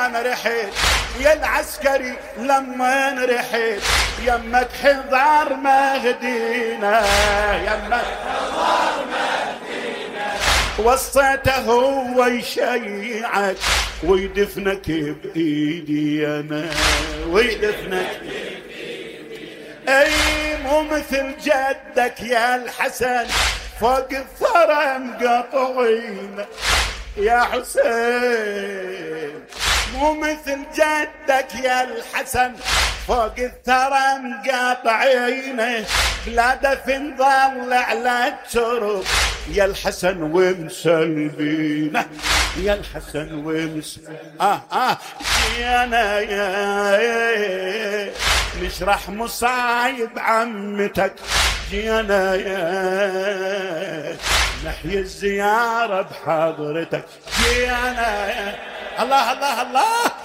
انا رحت يا العسكري لما رحت يمك حضار مهدينا يمك حضار مهدينا وصيته هو يشيعك ويدفنك بايدي انا ويدفنك اي مو مثل جدك يا الحسن فوق الثرى مقطعين يا حسين مو مثل جدك يا الحسن فوق الثرى مقاطعينه بلا دفن ظل على الترب يا الحسن ومسلبينه يا الحسن جينا يا نشرح مصايب عمتك جينا يا نحيي الزيارة بحضرتك جينا يا الله الله الله